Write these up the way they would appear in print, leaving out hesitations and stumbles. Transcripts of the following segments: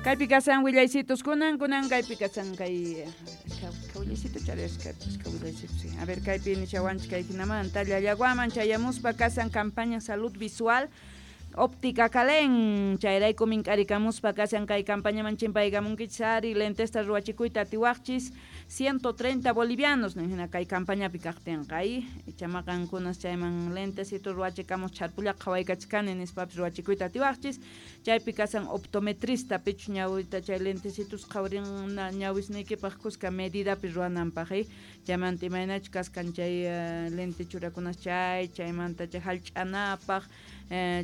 Kaypi kasan willaysitos kunan kunan kaypi kasan kay willaycito charisqa willaycito. A ver, kaypi nishawanchik kay hinamanta Llallaguaman chayamuspa kasan campaña salud visual Óptica Calén, chayrayku mink'arikamuspa kasan kay campañaman chimpaykamunkichis ari lentesta ruwachikuyta atiwaqchis 130 bolivianos hina kay campañapi kaqtinqa icha maqankunas chayman lentecito ruwachikamus chharpulla qhawaykachkani nispapis ruwachikuyta atiwaqchis chaypi kasan optometrista pichus ñawita chay lentecitos qhawarin ñawisniykipaq kuska medidapi ruwananpaq chaymanta imaynachus kaskan chay lente churakunas chay chaymanta chay hallch'anapaq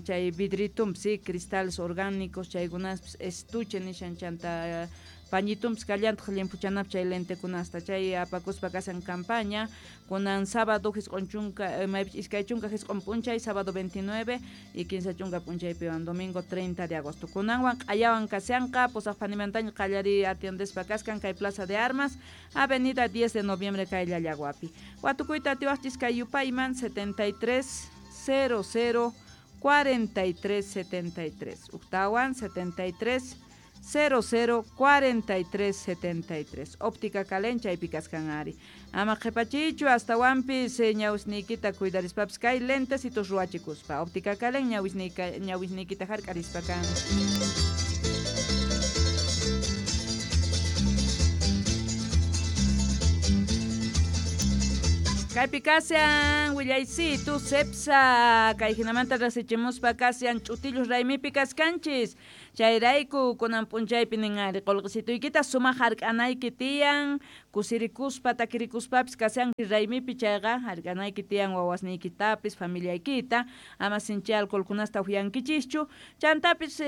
chay vidritumpi sí cristales orgánicos chaykunaspis estuche nishan chanta pañitumpis kallantaq limpuchanapaq chay lentekunasta chay apakuspa kasan campaña kunan sábado jisq'on chunka maypich 29 p'unchay sábado 29 y 30 p'unchaypiwan domingo 30 de agosto kunanwan q'ayawan kashanqa pusaq phanimantaña qallariy atiendespa kaskan kay Plaza de Armas avenida 10 de noviembre kay Llallaguapi watukuyta atiwaqchis kay yupayman 73 00 43 73 uktawan 73 00 43 73 Óptica Calén chaypi kaskan ari ama qhipachichu astawanpis ñawisniykita cuidarispapis kay lentecitos ruwachikuspa Óptica Calén ñawisniykita hark'arispa kan. Kaypi kashan willaysitu Cepsa kay hinamanta rasichimuspa kashan ch'utillus raymipi kaskanchis chayrayku kunan p'unchaypi nin ari qullqisituykita sumaq hark'anayki tiyan kusirikuspa takirikuspapis kashanki raymipi chayqa hark'anayki tiyan wawasniykitapis familiaykita ama sinchi alcoholkunasta upyankichischu chantapis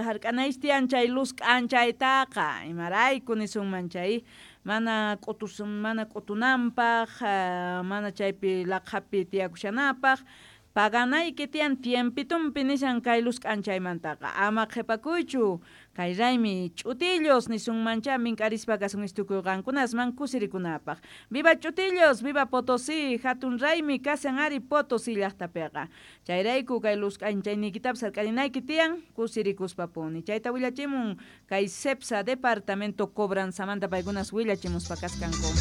hark'anaychis tiyan chay luz k'anchaytaqa imarayku nisunman chay mana k'utunanpaq mana chaypi laqhapi tiyakushanapaq paganayki tiyan tiempitumpi nishan kay luz k'anchaymantaqa ama qhipakuychu kay raymi ch'utillos nisunmancha mink'arispa kasun tukuy qankunasman kusirikunapaq viva ch'utillos viva Potosí hatun raymi kashan ari Potosí llaqtapiqa chayrayku kay luz k'anchayniykitapis hark'arinayki tiyan kusirikuspapuni chayta willachimun kay Cepsa departamento cobranzamanta paykunas willachimuspa kaskanku.